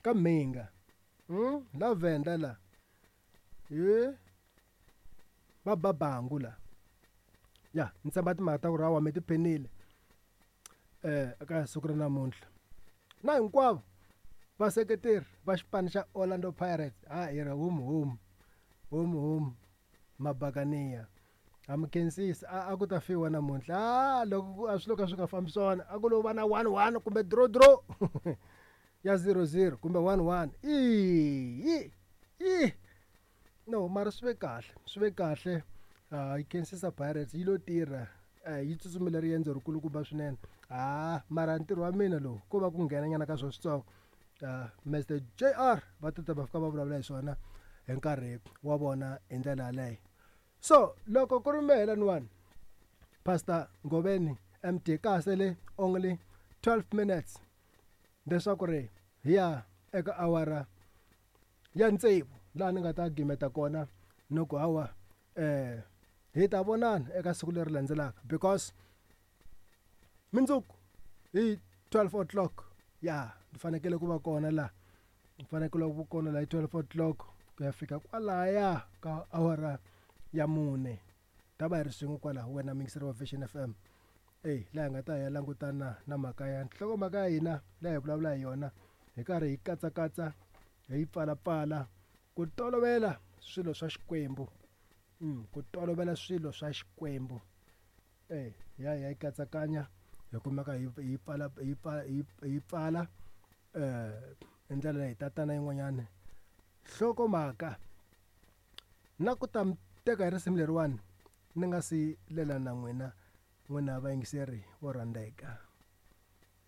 Ka Mhinga. La Venda la. He va ba bangu la. Ya ni tshemba timhaka ta ku ri hawa mi tiphinile eka siku ra namuntlha. Na hinkwavo vaseketeri va xipano xa Orlando Pirates ha hi ri hum hum hum hum mabakaniya. Ha mi khensisa a a ku ta fiwa namuntlha a loko a swilo ka swi nga fambi swona a ku lo va na 1-1 kumbe draw draw ya 0-0 kumbe 1-1 i i no mara swi ve kahle swi ve kahle yi khensisa Pirates yi lo tirha yi tsutsumile riendzo rikulukumba swinene ha mara ntirho wa mina lowu ko va ku nghena nyana ka swo switsongo Mr JR va tata va fika va vulavula hi swona hi nkarhi wa vona hi ndlela yaleyo so loko ku ri mehe laniwani Pastor Ngoveni MD ka ha sele only 12 minutes leswaku ri hi ya eka awara ya tsevu laha ni nga ta gimeta kona ni ku hawa hi ta vonana eka siku leri landzelaka because mundzuku hi 12 o'clock ya ni fanekele ku va kona laha ni fanekele ku kona laha hi 12 o'clock ku ya fika kwalaya ka awara ya mune ta va hi ri swin'we kwalaho wena muyingiseri wa Vision FM eyi laha hi nga ta ya langutana na mhaka ya nhlokomhaka ya hina laha hi vulavula hi yona hi karhi hi katsakatsa hi yi pfalapfala ku tolovela swilo swa Xikwembu ku tolovela swilo swa Xikwembu e ya hi ya yi katsakanya hi kumeka hi hi pfala hi pfala hi pfala hi ndlela leyi tatana yin'wanyani nhlokomhaka na ku ta mi teka hi risimu leriwani ni nga si lela na n'wina n'wina vayingiseri vo rhandzeka.